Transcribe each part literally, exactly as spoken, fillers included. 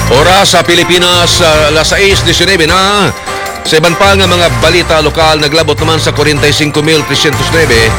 Oras sa Pilipinas, ah, alas sais disinebe na. Sa iban pa nga mga balita lokal, naglabot naman sa kwarenta y cinco mil trescientos nuebe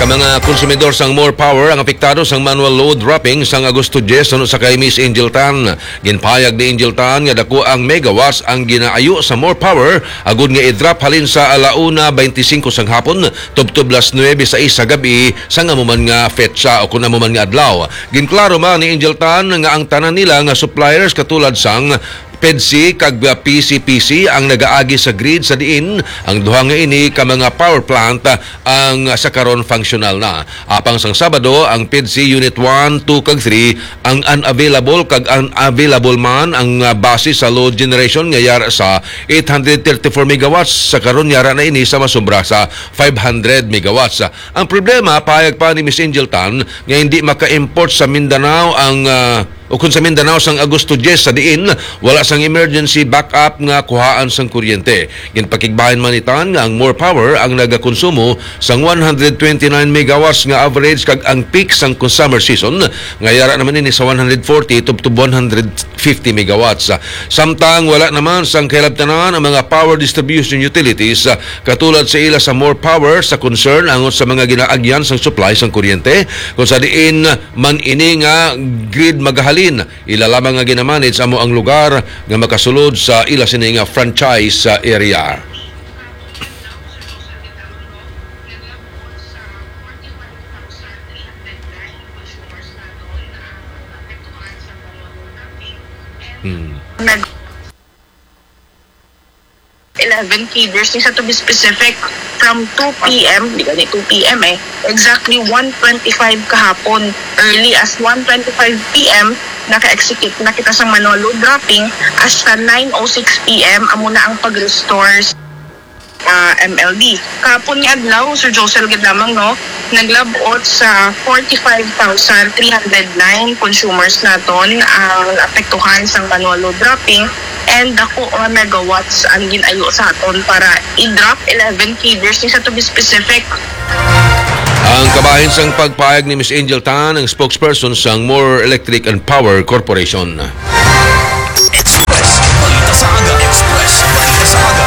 ka mga konsumidor sang More Power ang apektado sang manual load dropping sang Agosto diyes, suno sa kay Miss Angel Tan. Ginpahayag ni Angel Tan nga dako ang megawatts ang ginaayo sa More Power agud nga i-drop halin sa ala una beintisinko sang hapon tubtob las nuebe sais sa gab-i sang amo man nga petsa o kun amo man nga adlaw. Ginklaro man ni Angel Tan nga ang tanan nila nga suppliers katulad sang PEDCI kag, ah, PCPC ang nagaagi sa grid sa diin ang duha nga ini ka mga power plant, ah, ang, ah, sa karon functional na. Apang sang Sabado, ang PEDCI Unit one, two kag three ang unavailable kag unavailable man ang, ah, base sa load generation nga yara sa eight hundred thirty-four megawatts, sa karon yara na ini sa masobra sa five hundred megawatts. Ang problema, pahayag pa ni Miss Angel Tan, nga hindi maka-import sa Mindanao ang, ah, o kun sa Mindanao sang Agosto diyes, sa diin wala sang emergency backup nga kuhaan sang kuryente. Ginpakigbahin man ni Tan nga ang More Power ang nagakonsumo sang one hundred twenty-nine megawatts nga average kag ang peak sang summer season nga yara naman ini sa one hundred forty tubtob one hundred fifty megawatts. Samtang wala naman sang kahilabtanan ang mga power distribution utilities, ah, katulad sa ila sa More Power sa concern angot sa mga ginaagyan sang supply sang kuryente, kung sa diin man ini nga grid magahalin, ila lamang nga ginamanage amo ang lugar nga makasulod sa ila sini nga franchise, ah, area. Hmm. Nag- eleven feeders, isa to be specific, from two p m, di gani two p m eh, exactly one twenty-five kahapon, early as one twenty-five p m, naka-execute na kita sa manual load dropping. Hasta nine oh six p m, amo na ang pag-restore sa, ah, M L D. Kahapon nga adlaw, Sir Josel, gid lamang, no, naglabot sa forty-five thousand three hundred nine consumers naton ang apektuhan sang manual load dropping. And dako nga megawatts ang ginayo sa aton para i-drop, eleven feeders, isa to be specific. Ang kabahin sang pagpahayag ni Miss Angel Tan, ang spokesperson sang More Electric and Power Corporation. Express. Balita sa aga. Express. Balita sa aga.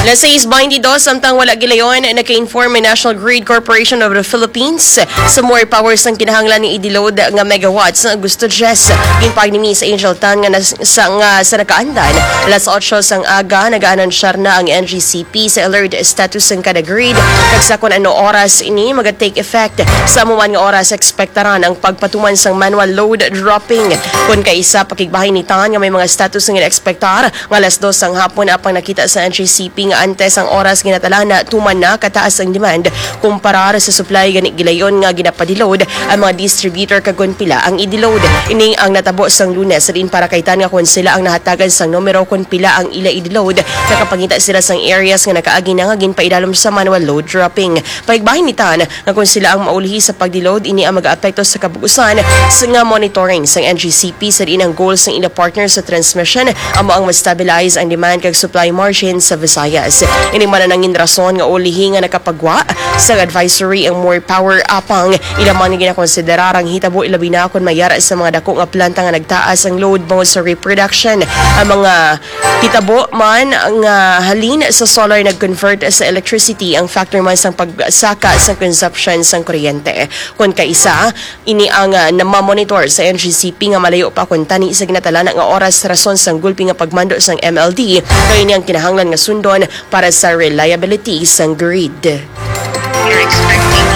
Alas sais beintidos, samtang wala gilayon, naka-inform ang National Grid Corporation of the Philippines sa more power sang kinahanglan ni i-deload nga megawatts sa Agosto diyes. Ginpahayag ni Miss Angel Tan nga nas-, sa, nga sa nakaandan, alas otso sang aga, nag-aanunsyar na ang N G C P sa alert status sang kada grid, kag sa kon ano oras ini maga-take effect. Sa amo man nga oras, ekspektaran ang pagpatuman sang manual load dropping. Kon kaisa, pakigbahin ni Tan nga may mga status nga gina-ekspektar nga alas dos sang hapon, apang nakita sa N G C P nga antes ang oras ginatalaan na tuman na kataas ang demand kumparar sa supply, gani gilayon nga ginapadeload ang mga distributor kag kon pila ang i-deload. Ini ang natabo sang Lunes, diin para kay Tan nga kon sila ang nahatagan sang numero kon pila ang ila i-deload, nakapangita sila sang areas nga nakaagi na nga ginpaidalom sa manual load dropping. Paigbahin ni Tan nga kon sila ang maulhi sa pagdeload, ini ang mag-aapekto sa kabug-usan sa nga monitoring sang N G C P, sa diin ang goal sang ila partner sa transmission amo ang ma-stabilize ang demand kag supply margin sa Visayas. Ini man ang nangin rason nga ulihi nga nakapagwa sa advisory ang More Power, apang ila man nga ginakonsiderar ang hitabo, ilabi na kon mayara sa mga dako nga planta nga nagtaas ang load bangod sa reproduction. Ang mga hitabo man nga halin sa solar nag-convert sa electricity ang factor man sang pagsaka sang consumption sang kuryente. Kon kaisa, ini ang, ah, namamonitor sa N G C P nga malayo pa kon tani sa ginatalana nga oras rason sang gulpi nga pagmando sang M L D, kay ini ang kinahanglan nga sundon para sa reliability sang grid. We're expecting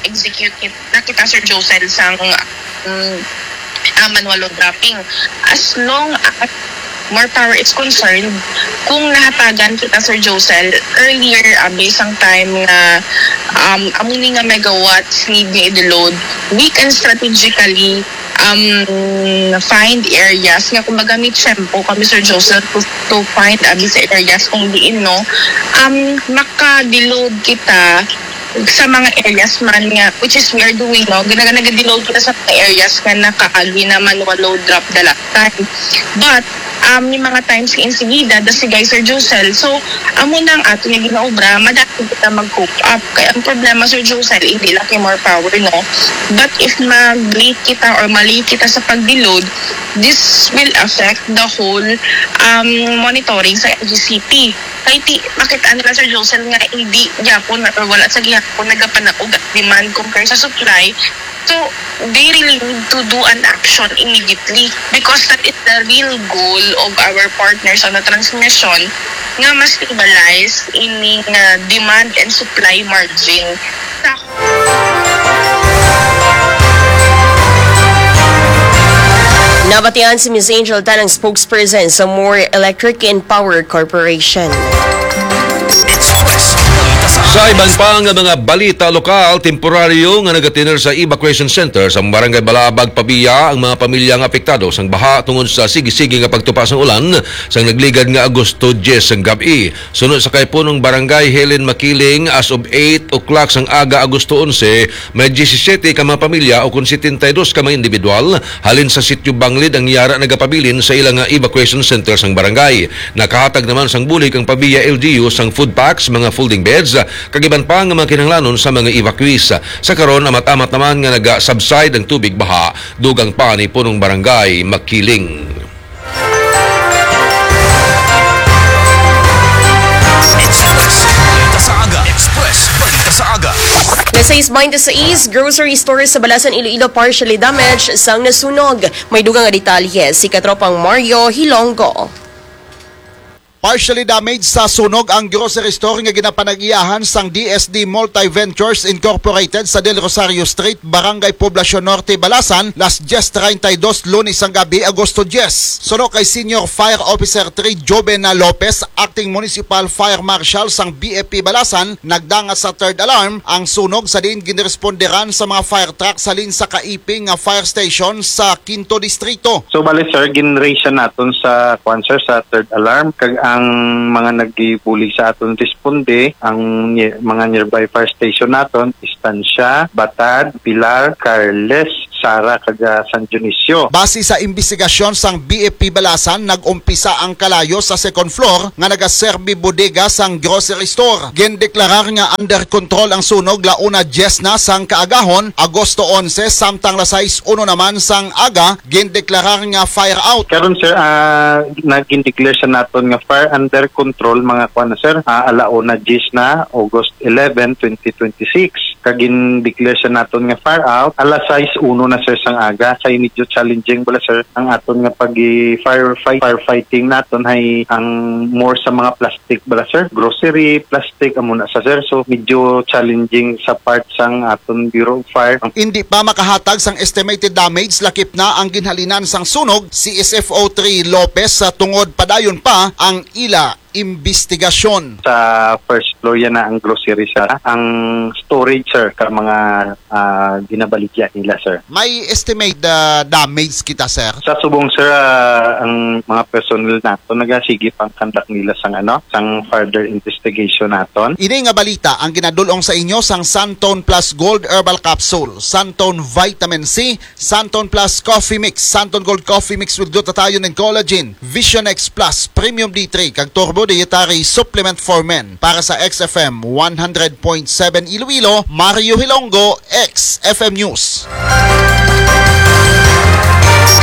execute na kita, Sir Josel, sang, um, ah, manual load dropping. As long as More Power is concerned, kung nahatagan kita, Sir Josel, earlier, ah, based ang time nga, um, amo ni nga megawatts need nga i-deload, we can strategically, um, find areas nga, kumbaga, may tiyempo kami, Sir Josel, to, to find, ah, sa areas kung diin, no, um, maka-deload kita sa mga areas man nga, which is we are doing, no? Ginaga-, nag-deload kita sa mga areas nga nakaagi na manual load drop the last time. But, um, may mga times nga insigida, das si guys, Sir Josel. So, amo na ang ato nga ginaobra, madali kita mag-cope up. Kaya ang problema, Sir Josel, hindi lang kay more power, no? But if mag-late kita or ma-late kita sa pag-deload, this will affect the whole, um, monitoring sa L G C P. Kay ti, makita nila, Sir Josel, nga hindi gyapon or wala sa gihapon nagapanag-og ang demand compare sa supply. So, they really need to do an action immediately because that is the real goal of our partners on the transmission, nga ma-stabilize ining, ah, demand and supply margin sa Nabatian si Miss Angel Tan, ang spokesperson sa More Electric and Power Corporation. Sa iban pa nga mga balita lokal, temporaryo nga nagatiner sa evacuation center sa Barangay Balabag, Pavia ang mga pamilya nga apektado sang baha tungod sa sige-sige nga pagtupa sang ulan sang nagligad nga Agosto diyes sang gab-i. Suno sa kay Punong Barangay Helen Makiling, as of eight o'clock sang aga, Agosto onse, may diyesisiyete ka mga pamilya o kon setenta y dos ka mga individual halin sa Sitio Banglid ang yara nagapabilin sa ila nga evacuation center sang barangay. Nakahatag naman sang bulig ang Pavia L G U sang food packs, mga folding beds, kag iban pa nga mga kinahanglanon sa mga evacuees. Sa karon, amat-amat naman nga naga-subside ang tubig baha, dugang pa ni Punong Barangay Makiling. Express Balita sa Aga. Express Balita sa Aga. Las sais baynte sais, grocery store sa Balasan, Iloilo, partially damaged sang nasunog. May dugang nga detalye si Katropang Mario Hilonggo. Partially damaged sa sunog ang grocery store nga ginapanag-iyahan sang D S D Multiventures Incorporated sa Del Rosario Street, Barangay Poblacion Norte, Balasan, las diyes treinta y dos, Lunes sang gabi, Agosto diyes. Suno kay Senior Fire Officer three Joven Lopez, Acting Municipal Fire Marshal sang B F P Balasan, nagdangat sa third alarm ang sunog sa diin ginresponderan sa mga fire truck halin sa kaiping nga fire station sa Quinto Distrito. So, bali, sir, ginraise siya naton sa, kwan, sir, sa third alarm. Kag ang mga nagibuli sa aton responde, ang ni-, mga nearby fire station naton, Estancia, Batad, Pilar, Carles, Sara, kag, ah, San Dionisio. Base sa imbestigasyon sang B F P Balasan, nag-umpisa ang kalayo sa second floor nga nagaserbi bodega sang grocery store. Gindeklarar nga under control ang sunog launa diyes na sang kaagahon, Agosto onse, samtang las sais uno naman sang aga, gindeklarar nga fire out. Karon, sir, ah, nagin-declare sa naton nga fire under control, mga kwan na, sir, ah, alauna diyes na, August eleven, twenty twenty-six. Kag gin-declare sa naton nga fire out, alas sais uno na, sir, sang aga. Kay medyo challenging bala, sir, ang aton nga pag-firefight, firefighting naton hay ang more sa mga plastic bala, sir. Grocery, plastic, amo na sa, sir. So, medyo challenging sa part sang aton Bureau of Fire. Indi pa makahatag sang estimated damage lakip na ang ginhalinan sang sunog si S F O three Lopez, sa tungod padayon pa ang ila imbestigasyon. Sa first floor yan na ang grocery, sir. Ang storage, sir, ka mga, ah, ginabaligya nila, sir. May estimate, ah, damage kita, sir? Sa subong, sir, ah, ang mga personnel nato nagasige pang conduct nila sang, ano, sang further investigation naton. Ini nga balita ang ginadul-ong sa inyo sang Santone Plus Gold Herbal Capsule, Santone Vitamin C, Santon Plus Coffee Mix, Santon Gold Coffee Mix with glutathione and collagen, Vision X Plus Premium D three, kag Turbo Dietary Supplement for Men. Para sa X F M one hundred point seven Iloilo, Mario Hilonggo, X F M News.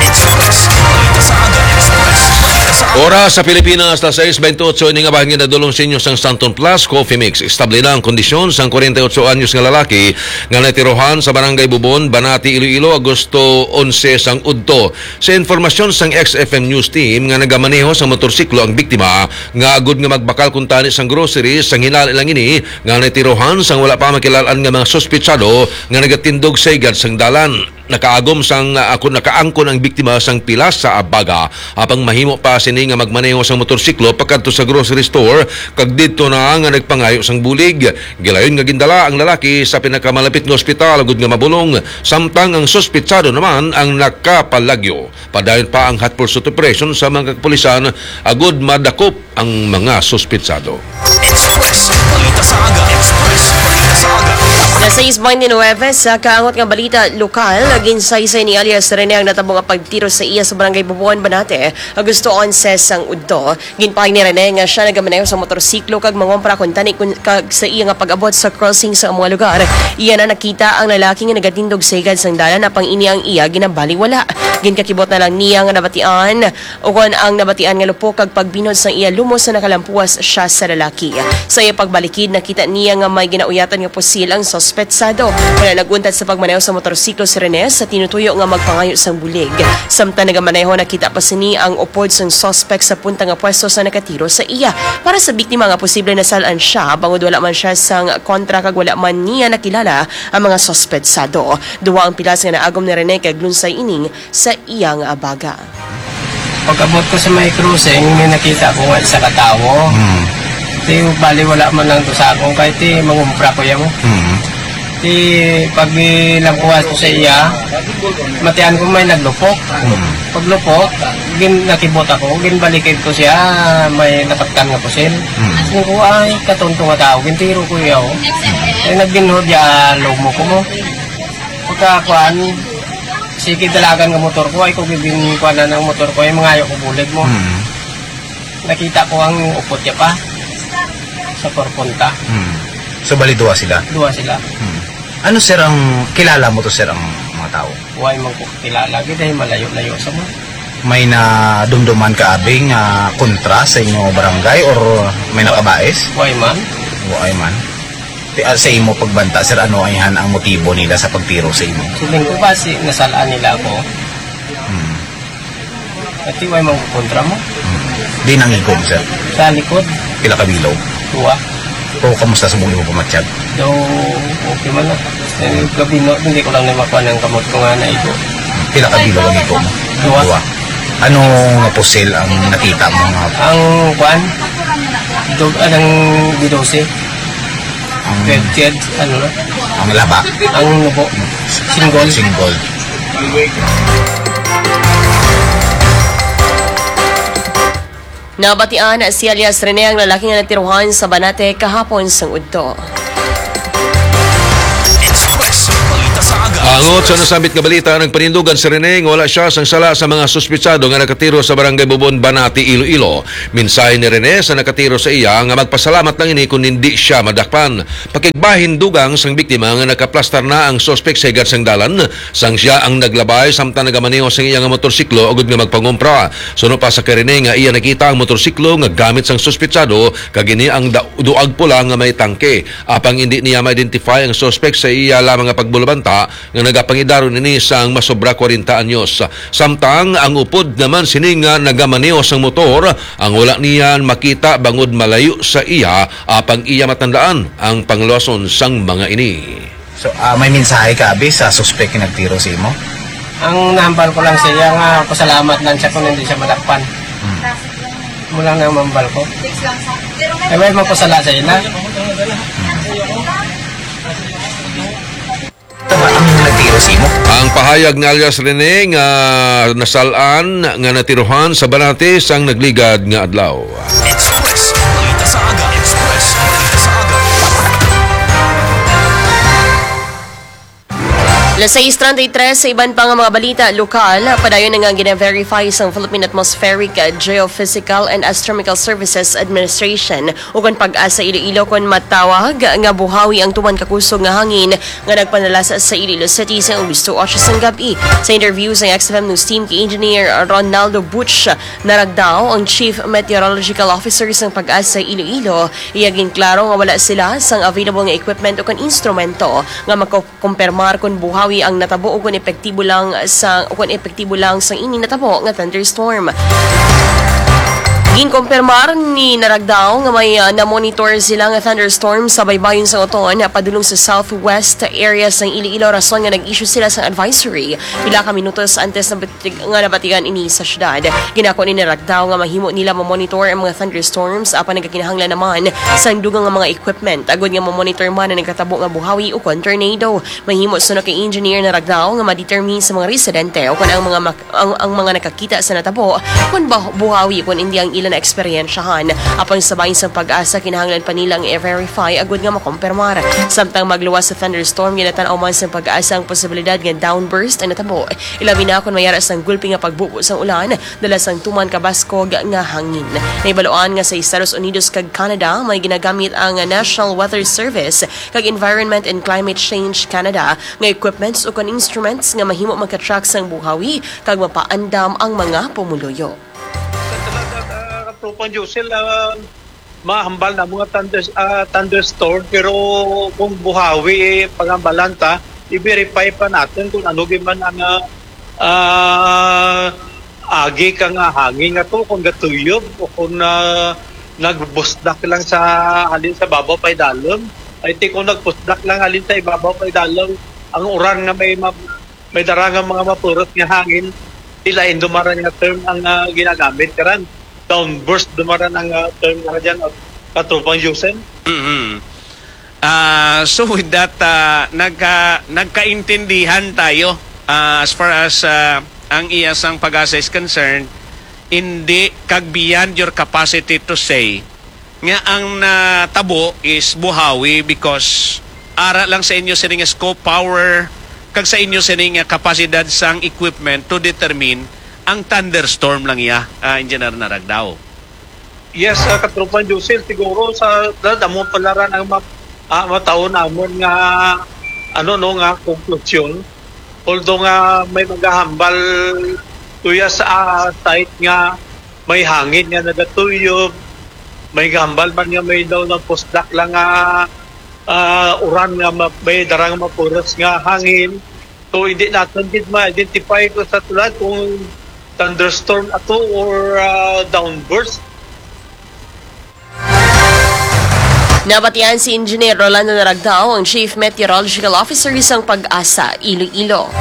Express Balita sa Aga. Express Balita sa Aga. Oras sa Pilipinas, las sais baynte otso, ini nga bahin ginadul-ong sa inyo sang Santon Plus Coffee Mix. Estable na ang kondisyon sang kwarenta y otso anyos nga lalaki nga natirohan sa Barangay Bubon, Banati, Iloilo, Agosto onse sang udto. Sa informasyon sang X F M News Team nga nagamaneho sang motorsiklo ang biktima, nga agud nga magbakal kuntani sang grocery, sang hinala lang ini nga natirohan sang wala pa makilal-an nga mga suspetsado nga nagatindog sa higad sang dalan. Nakaagom sang, ah, ako, nakaangkon ang biktima sang pilas sa abaga, apang mahimo pa sini nga magmaneho sang motorsiklo pakadto sa grocery store, kag didto na nga nagpangayo sang bulig. Gilayon nga gindala ang lalaki sa pinakamalapit nga ospital agud nga mabulong, samtang ang suspetsado naman ang nakapalagyo. Padayon pa ang hot pursuit operation sa mga kapulisan agud madakop ang mga suspetsado. Express Balita sa Aga. Express Balita sa Aga. Alas sais bente nuebe, sa kaangot nga balita lokal, ginsaysay ni alias Rene ang natabo nga pagtiro sa iya sa Barangay Bubuan, Banate, Agosto onse sang udto. Ginpahay ni Rene nga siya nagamaneho sa motorsiklo kag mangompra kuntani kun, kag sa iya nga pag-abot sa crossing sa mga lugar, iya na nakita ang lalaki nga nagatindog sa higad sang dalan, apang ini ang iya ginabaliwala. Ginkakibot na lang niya nga nabatian, ukon ang nabatian nga lupok kag pagbinhod sang iya lumos sa nakalampuas siya sa lalaki. Sa iya pagbalikid, nakita niya nga may ginauyatan nga pusil ang suspetsado. Wala nag-untat sa pagmaneho sa motorsiklo si Rene sa tinutuyo nga magpangayo sang bulig. Samtang nagamaneho, nakita pa sini ang upod sang suspek sa punta nga pwesto sa nakatiro sa iya. Para sa biktima nga posible nasal-an siya, bangod wala man siya sang kontra kag wala man niya nakilala ang mga suspetsado. Duha ang pilas nga naagom ni Rene kag lunsay ining sa iyang abaga. Pag-abot ko sa may crossing, may nakita ko nga isa ka tawo. Hmm. Di, bali, wala man lang to sa akong, kahit di mangumpra ko yan. Hmm. Di, pag nilampuas ko sa iya, matian ko may naglupok. Hmm. Paglupok, gin, nakibot ako, ginbalikid ko siya, may napatkan nga pusil. Hmm. Sabi ko, "Ay, katonto nga tao, gintiro ko iya, oh." Ay, nagginhod ya, lomo ko mo. Pagka, kuan, sige, dalagan nga motor ko, ay ko gibin, kuan na ang motor ko, ay mangayo ko bulig mo. Hmm. Nakita ko ang upot niya pa sa porponta. Hmm. So, bali, duha sila? Duha sila. Hmm. Ano, sir, ang kilala mo to, sir, ang mga tao? Way man ko kilala, gid ay malayo-layo sa mo. May nadumduman ka, abi, nga kontra sa inyo barangay or may nakabais? Way man. Way man. Ti-, ah, sa imo pagbanta, sir, ano ay han ang motibo nila sa pagtiro sa imo? Siling ko ba si nasal-an nila ako? Hmm. Pati way man ko kontra mo. Hmm. Di nang igom, sir? Sa likod. Pila ka bilog? Duha. O, kamusta sa mong imo pamatyag? Daw, okay man lang. Eh, gabi na, hindi ko lang na makuha ng kamot ko nga na ito. Pila ka bilog ang igom mo? Duha. Duha. Ano nga pusil ang nakita mo nga? Ang kuan, dog, anong didose? Ang Red Kid, ano na? Ang laba? Ang nubo. Single. Single. Nabatian si alias Rene ang lalaki nga natiruhan sa Banate kahapon sang udto. Express Balita sa Aga. Angot sa nasambit nga balita, nagpanindugan si Rene nga wala siya sang sala sa mga suspitsado nga nakatiro sa Barangay Bubon, Banati, Iloilo. Mensahe ni Rene sa nakatiro sa iya nga magpasalamat lang ini kon hindi siya madakpan. Pakigbahin, dugang sang biktima nga nakaplastar na ang suspek sa higad sang dalan sang siya ang naglabay samtang nagamaneho sang iya nga motorsiklo agud nga magpangumpra. Suno pa sa kay Rene nga iya nakita ang motorsiklo nga gamit sang suspetsado kag ini ang da-, duag pula nga may tangke. Apang indi niya ma-identify ang suspek sa iya lamang nga pagbulabanta nga nagapangidaron ini sang masobra kwarenta anyos. Samtang ang upod naman sini nga nagamaneho sang motor, ang wala niya makita bangod malayo sa iya, apang iya matandaan ang pangluwason sang mga ini. So, ah, may mensahe ka, abi, sa suspek nga nagtiro sa imo? Ang nahambal ko lang sa iya nga pasalamat lang siya kung hindi siya madakpan. Hmm. Mo lang ang mambal ko. Ay, may mapasala sa ina. Tama ang nagtiro sa imo? Ang pahayag ni alias Rene nga nasal-an nga natiruhan sa Banate sang nagligad nga adlaw. Express Balita sa Aga. Express Balita sa Aga. Alas sais treinta y tres, sa iban pa nga mga balita lokal, padayon na nga gina-verify sang Philippine Atmospheric, Geophysical and Astronomical Services Administration ukon PAGASA Iloilo kon matawag nga buhawi ang tuman ka kusog nga hangin nga nagpanalasa sa Iloilo City sa Agosto otso sang gab-i. Sa interview sa X F M News Team kay Engineer Ronaldo Butch Naragdao, ang Chief Meteorological Officer sang PAGASA Iloilo, iya ginklaro nga wala sila sang available nga equipment o kon instrumento nga makakumpirmar kon buhawi ang natabo o kon epektibo lang sa, o kon epektibo lang sang ini natabo nga thunderstorm. Ginkumpirmar ni Naragdao nga may, ah, na-monitor sila nga thunderstorm sa baybayon sang Oton, padulong sa southwest area sang Iloilo, rason nga nag-issue sila sang advisory pila ka minutos antes na batig-, nga nabatian ini sa syudad. Ginako ni Naragdao nga mahimo nila ma-monitor ang mga thunderstorms, apan nagakinahanglan naman sang dugang nga mga equipment agud nga ma-monitor man ang nagkatabo nga buhawi ukon tornado. Mahimo suno kay Engineer Naragdao nga ma-determine sa mga residente o kon ang mga mak-, ang, ang mga nakakita sa natabo kon bah-, buhawi kon indi ang nila naeksperyensyahan. Apang sa bahin sang PAGASA, kinahanglan pa nila ang i-verify agud nga makumpirmar. Samtang magluwas sa thunderstorm, ginatan-aw man sang PAGASA ang posibilidad nga downburst ang natabo, ilabi na kon may ara sang gulpi nga pagbubo sang ulan dala sang tuman ka baskog nga hangin. Nahibaluan nga sa Estados Unidos kag Canada, may ginagamit ang National Weather Service kag Environment and Climate Change Canada nga equipments ukon instruments nga mahimo maka-track sang buhawi kag mapaandam ang mga pumuluyo. Sa talaga, ah, Katropang Josel, ah, mahambal na mga thunders-, ah, thunderstorm, pero kung buhawi, eh, pangambalan ta, i-verify pa natin kung ano gyud man ang, ah, ah, agi ka nga hangin nga to, kung gatuyob o kung, ah, nagbusdak lang sa halin sa babaw paidalom. I think kung nagbusdak lang halin sa ibabaw paidalom, ang uran nga may ma-, may dara nga mga mapurot nga hangin, ilain dumaran nga term ang, ah, ginagamit karan. Downburst dumaran ang, ah, term nga dyan, ah, Katropang Jusen. Mhm. Ah, so with that, ah, nagka-, nagkaintindihan tayo, ah, as far as, ah, ang iya sang PAGASA is concerned, hindi kag beyond your capacity to say nga ang natabo is buhawi because ara lang sa inyo sini nga scope, power, kag sa inyo sini nga kapasidad sang equipment to determine ang thunderstorm lang iya, ah, Engineer Naragdao. Yes, ah, Katropang Josel, siguro sa da-, damo pala ra ang ma-, ah, mataon namon nga, ano, no, nga konklusyon. Although nga may magahambal tuya sa, ah, site nga may hangin nga nagatuyob, may gahambal man nga may daw nagpusdak lang nga, ah, uran nga ma-, may darang mapuros nga hangin. So, hindi naton gid ma-identify ko sa tulad kung thunderstorm ato or, ah, downburst. Nabatian si Engineer Rolando Naragdao, ang Chief Meteorological Officer sang PAGASA Iloilo.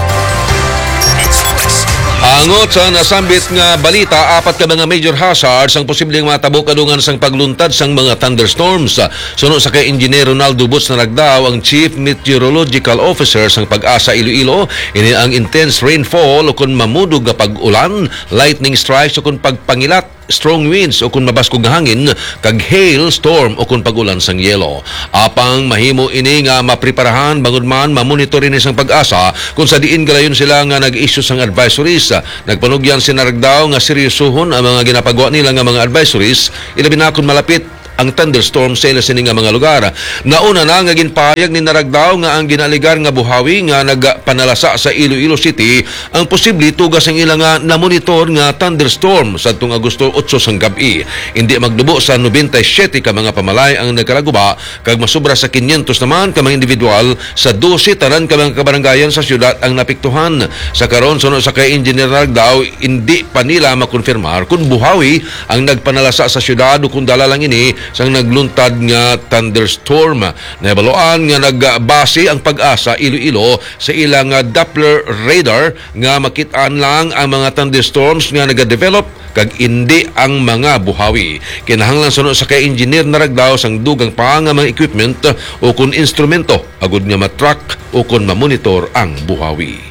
Angot sa nasambit nga balita, apat ka mga major hazards ang posibleng matabo kadungan sang pagluntad sang mga thunderstorms. Suno sa kay Engineer Ronaldo Boots Naragdao, ang Chief Meteorological Officer sang PAGASA Iloilo, ini ang intense rainfall ukon mamudog nga pag-ulan, lightning strikes ukon pagpangilat, strong winds ukon mabaskog nga hangin, kag hail storm ukon pag-ulan sang yelo. Apang mahimo ini nga mapreparahan bangod man mamonitor ini sang PAGASA kung sa diin galayon sila nga nag-issue sang advisories. Nagpanugyan si Naragdao nga seryosohon ang mga ginapagawa nila nga mga advisories, ilabi na kon malapit ang thunderstorm sa ila sini nga mga lugar. Nauna na nga ginpahayag ni Naragdao nga ang ginaaligar nga buhawi nga nagpanalasa sa Iloilo City ang posible tuga sang ila nga namonitor nga thunderstorm sadtong Agosto otso sang gab-i. Indi magdubo sa nobenta y siyete ka mga pamalay ang nagkalaguba, kag masobra sa kinyentos naman ka mga individual sa dose tanan ka mga kabarangayan sa siyudad ang naapektuhan. Sa karon, suno sa kay Engineer Naragdao, indi pa nila makonfirmar kon buhawi ang nagpanalasa sa siyudad o kon dala lang ini sang nagluntad nga thunderstorm. Nahibaluan nga nagbase ang PAGASA Iloilo sa ila nga Doppler radar nga makit-an lang ang mga thunderstorms nga nagadevelop kag indi ang mga buhawi. Kinahanglan suno sa kay Engineer Naragdao sang dugang pa nga mga equipment o kon instrumento agud nga ma-track o kon ma-monitor ang buhawi.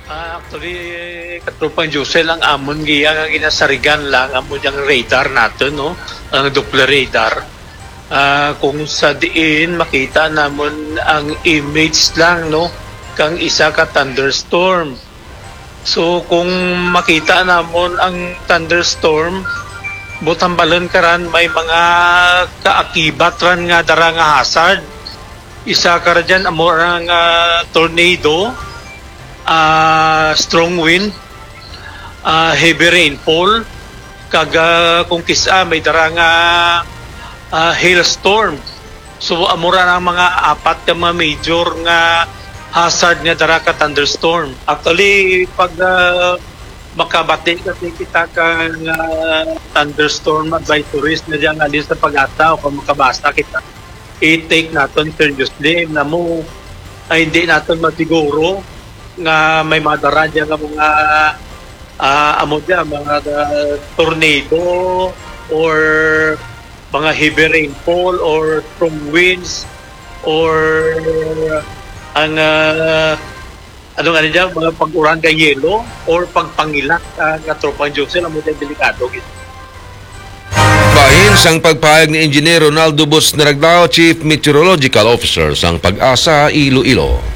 Ah, actually, Katropang Josel, ang amon giya nga ginasarigan lang amo diyang radar naton, no? Ang Doppler radar. Ah, kung sa diin makita namon ang image lang, no, kang isa ka thunderstorm. So, kung makita namon ang thunderstorm, buot hambalon karan may mga kaakibat ran nga dara nga hazard. Isa ka ra dyan, amo ra nga tornado, ah, strong wind, ah, heavy rainfall, kag, ah, kung kis-a may dara nga, ah, hailstorm. So, amo ra ang mga apat ka mga major nga hazard nga dara ka thunderstorm. Actually, pag, ah, makabati kasi kita ka nga thunderstorm advisories na dyan, alin sa PAGASA o kung makabasa kita, i-take naton seriously. Namo, ay hindi naton masiguro nga may madara dyan nga mga, ah, amo dyan, mga, ah, tornado or mga heavy rainfall or strong winds or ang, ah, ano nga niya, mga pag-uran kay yelo or pagpangilat, ah, nga tropang Josel, amo dyan delikado gid. Sang pagpahayag ni Engineer Ronaldo Boots Naraglao, Chief Meteorological Officer sang PAGASA Iloilo.